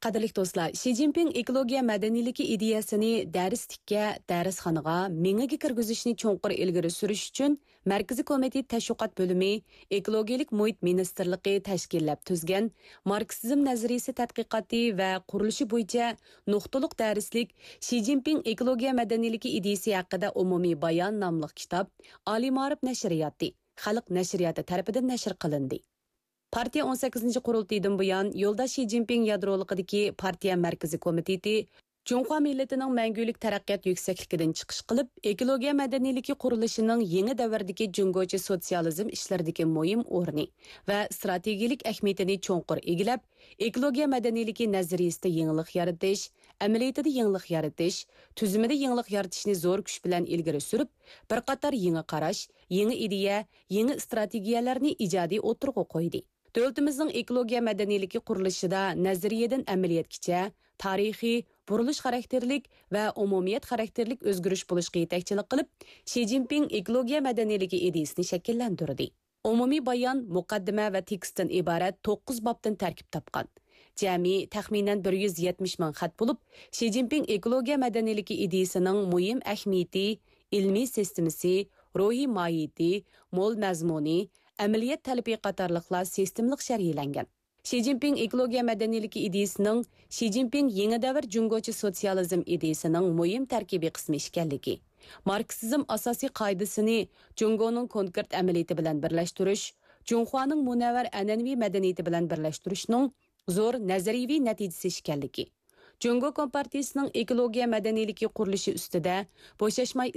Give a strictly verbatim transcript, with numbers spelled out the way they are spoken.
قەدىرلىك دوستلار، شى جىنپىڭ ئېكولوگىيە مەدەنىيلىكى ئىدىيەسىنى دەرسلىككە، دەرسخانىغا، مېڭىگە كىرگۈزۈشنى چوڭقۇر ئىلگىرى سۈرۈش ئۈچۈن، مەركىزىي كومىتېت تەشۋىقات بۆلۈمى ئېكولوگىيەلىك مۇھىت مىنىستىرلىقى تەشكىللەپ تۈزگەن ماركسىزم نەزەرىيىسى تەتقىقاتى ۋە قۇرۇلۇشى بويىچە نۇقتىلىق دەرسلىك شى جىنپىڭ ئېكولوگىيە مەدەنىيلىكى ئىدىيىسى ھەققىدە ئومۇمىي بايان ناملىق كىتاب ئالىي مائارىپ نەشرىياتى، خەلق نەشرىياتى تەرىپىدىن نەشر قىلىندى. پارتىيە ئون سەككىزىنچى قۇرۇلتىيىدىن بۇيان، يولداش شى جىنپىڭ يادرولۇقىدىكى پارتىيە مەركىزىي كومىتېتى جۇڭخۇا مىللىتىنىڭ مەڭگۈلۈك تەرەققىيات يۈكسەكلىكىدىن چىقىش قىلىپ، ئېكولوگىيە مەدەنىيلىكى قۇرۇلۇشىنىڭ يېڭى دەۋردىكى جۇڭگوچە سوتسىيالىزم ئىشلىرىدىكى مۇھىم ئورنى ۋە ئىستراتېگىيەلىك ئەھمىيىتىنى چوڭقۇر ئىگىلەپ، ئېكولوگىيە مەدەنىيلىكى نەزەرىيىسىدە يېڭىلىق يارىتىش، ئەمەلىيىتىدە يېڭىلىق يارىتىش، تۈزۈمىدە يېڭىلىق يارىتىشنى زور كۈچ بىلەن ئىلگىرى سۈرۈپ، بىر قاتار يېڭى قاراش، يېڭى ئىدىيە، يېڭى ئىستراتېگىيەلەرنى ئىجادىي ئوتتۇرىغا قويدى. دۆلىتىمىزنىڭ ئېكولوگىيە مەدەنىيلىكى قۇرۇلۇشىدا نەزەرىيەدىن ئەمەلىيەتكىچە تارىخىي، بۇرۇلۇش خاراكتېرلىك ۋە ئومۇمىيەت خاراكتېرلىك ئۆزگىرىش بولۇشقا يېتەكچىلىك قىلىپ، شى جىنپىڭ ئېكولوگىيە مەدەنىيلىكى ئىدىيىسىنى شەكىللەندۈردى. ئومۇمىي بايان مۇقەددىمە ۋە تېكىستتىن ئىبارەت توققۇز بابتىن تەركىب تاپقان. جەمئىي تەخمىنەن بىر يۈز يەتمىش مىڭ خەت بولۇپ، شى جىنپىڭ ئېكولوگىيە مەدەنىيلىكى ئىدىيىسىنىڭ مۇھىم ئەھمىيىتى، ئىلمىي سىستېمىسى، روھىي ماھىيىتى، مول مەزمۇنى، ئەمەلىيەت تەلىپى قاتارلىقلار سىستېمىلىق شەرھلەنگەن. شى جىنپىڭ ئېكولوگىيە مەدەنىيلىكى ئىدىيىسىنىڭ شى جىنپىڭ يېڭى دەۋر جۇڭگوچە سوتسىيالىزم ئىدىيىسىنىڭ مۇھىم تەركىبىي قىسمى ئىكەنلىكى، ماركسىزم ئاساسىي قائىدىسىنى جۇڭگونىڭ كونكرېت ئەمەلىيىتى بىلەن بىرلەشتۈرۈش، جۇڭخۇانىڭ مۇنەۋۋەر ئەنئەنىۋى مەدەنىيىتى بىلەن بىرلەشتۈرۈشنىڭ زور نەزەرىيىۋى نەتىجىسى ئىكەنلىكى، جۇڭگو كومپارتىيىسىنىڭ ئېكولوگىيە مەدەنىيلىكى قۇرۇلۇشى ئۈستىدە بوشاشماي